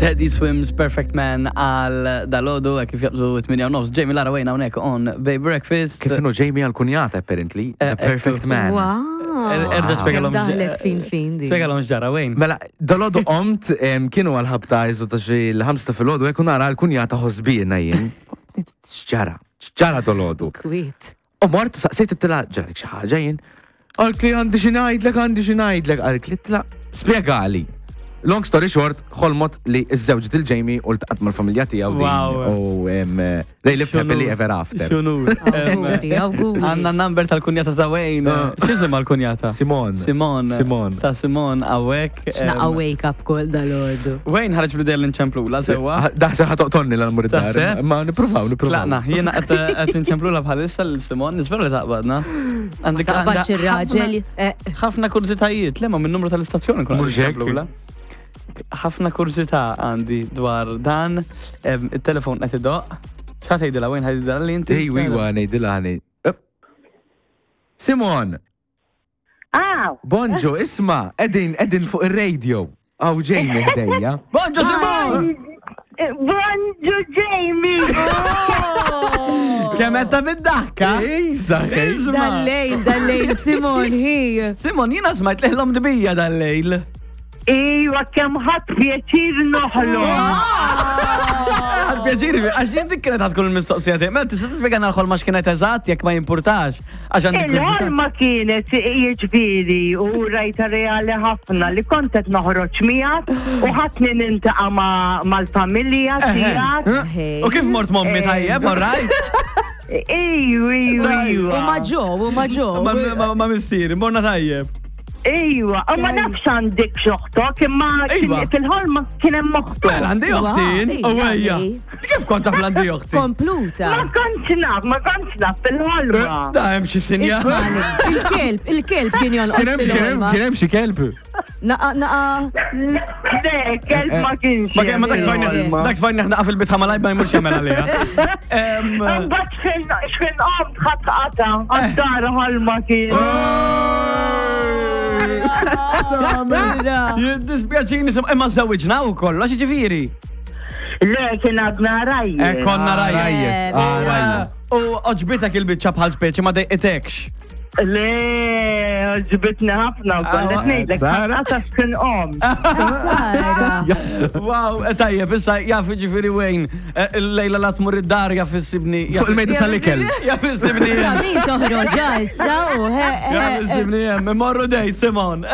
Teddy Swims Perfect Man għal dalodu kif jabżu 8 nofs. Jamie Lara Wayne hawnhekk on Bay Breakfast. Kif inhu Jamie għal kunjata apparently, the Eh, perfect man. Wow. Erġa' spjegalhom. Daħlet fin fin di. Spjegalhom x'ġara Wayne. Mela, dalodu qomt em, kienu għal-ħabta jizu ta' xi l-ħamsa ta' filgħodu hekk u nara l-kunjata ħosbina jien. X'ġara? X'ġara dalodu? Kwiet. U mort saqsejt it-tila ġarek xi ħaġa jien. Għalt li għandi xi ngħidlek, għandi xi ngħidlek, għalt li tla spjegali. Long story short, ħolmot li iż-żewġ il-Jamie u l-taqat mal-familja tiegħu din. Wow. U em, they lived happily ever after. Xunur. Awguri, awguri. Għanna number tal-kunjata ta' Wayne. Ah. X'isim għal-kunjata? Simon. Simon. Simon. Ta' Simon għawek. X'naqa wake up call dal-għodu. Wayne ħareġ bl-idea li nċemplula sewwa. Daħse ħatoqtonni l-mur id-dar. Taħseb? Ma nippruvaw, nippruvaw. Tlaqna, jiena qed nċemplula bħalissa l-Simon, nispera li taqbadna. Għandek Taqbadx għandha ir-raġel. eh, ħafna- Ħafna kurzitajiet, le ma minn numru tal-istazzjoni kun Mhux hekk. nċemplula. Ħafna kurzità għandi dwar dan, em, il-telefon qed idoq. X'ħa tgħidilha Wayne ħa li inti? Ej, wiwa, ngħidilha ħani. Up. Simon, Aw, bonġu, isma, edin, edin fuq il-radio. Aw, Jamie ħdejja. Bonġu Simon! bonġu Jamie! Kemm qed ta' bid-daħka? Ejza, ej. Isma. Dal-lejl, dal-lejl, Simon, hi. Simon, jiena smajt leħlom dbija dal-lejl. Iwa, kemm ħadd pjaċir noħlom. Għad pjaċiri, għax jien dik kienet tkun il-mistoqsija tiegħi. Mela tista' tispjegana l-ħolma x'kienet eżatt jekk ma jimpurtax. Għax għandi kurżità. Il-ħolma kienet jiġifieri u rajta reali ħafna li kont qed noħroġ miegħek u ħadd nintaqa' ma' mal-familja tiegħek. Hey. U kif mort mommi tajjeb, all right? Iju, iju, U iju. ma ġo, u ma ġo. Ma- Ma ma missieri, morna tajjeb. Iwa, u ma nafx għandek xoħtok, imma kien- Iva. fil-ħolma kien hemm oħtok. Mela għandi oħti jien, Wow, u ejja. ej, Kif kont taf l-għandi oħti? Kompluta. Ma kontx naf, ma kontx naf fil-ħolma. Da hemm xi sinja. Ismani, il-kelb, il-kelb kien jonqos Kien hemm- kien hemm- fil-ħolma. kien hemm xi kelb. Naqa, naqa. Le, kelb ma kienx. Ma kien ma dak hemm tfajni, fil-ħolma. dak tfajni ħnaqa fil-bitħa malaj ma jmurx jagħmel għaliha. Em, Mbagħad x'ħin x'ħin qomt ħadd qata' għad-dar ħolma kien. Jiddispjaċini, sim- imma żewġna u kollox, ġifieri. Le kien għadna rajjes. Eh, konna rajjes. Rajjes, ah, rajjes. U oġbitek il-biċċa bħal speċi ma dejqitekx. Le, ġbitni ħafna u Ah, qed ngħidlek Dara. ħadd qata' x'ħin qomt. Tara. Wow, eh, tajjeb, issa jaf ġifieri Wayne, eh, il-lejla la tmur id-dar jaf issibni. Fuq il-mejda tal-ikel. Jaf issibni. Min toħroġ issa u he. Jaf he, he. issibni hemm, imorru dejt, Simon.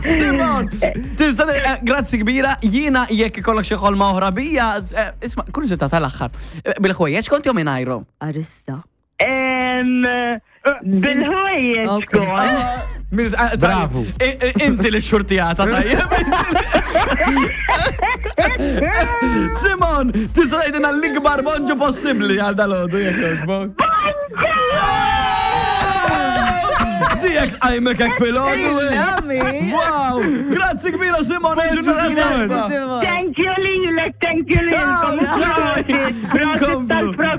Simon, tista' eh, grazzi kbira, jiena jekk ikollok xi ħolma oħra bija, eh, isma' kurżità tal-aħħar. Eh, Bil-ħwejjeġ kont jew mingħajrhom? Arista. Em, Bil-ħwejjeġ Ok. kont. Miz- eh, tajjeb. Bravu. I- i- Inti li xurtijata tajjeb. Simon, tista' tgħidilna l-ikbar bonġu possibbli għal dalodu jekk jogħġbok. Dijek tqajmek hekk filgħodu. Nami. Wow! Grazzi kbira Simon, Simon. Simon. Thank you lilek, thank you lilkom. Ciao. Prosit, prosit Inkomplu. tal-programm.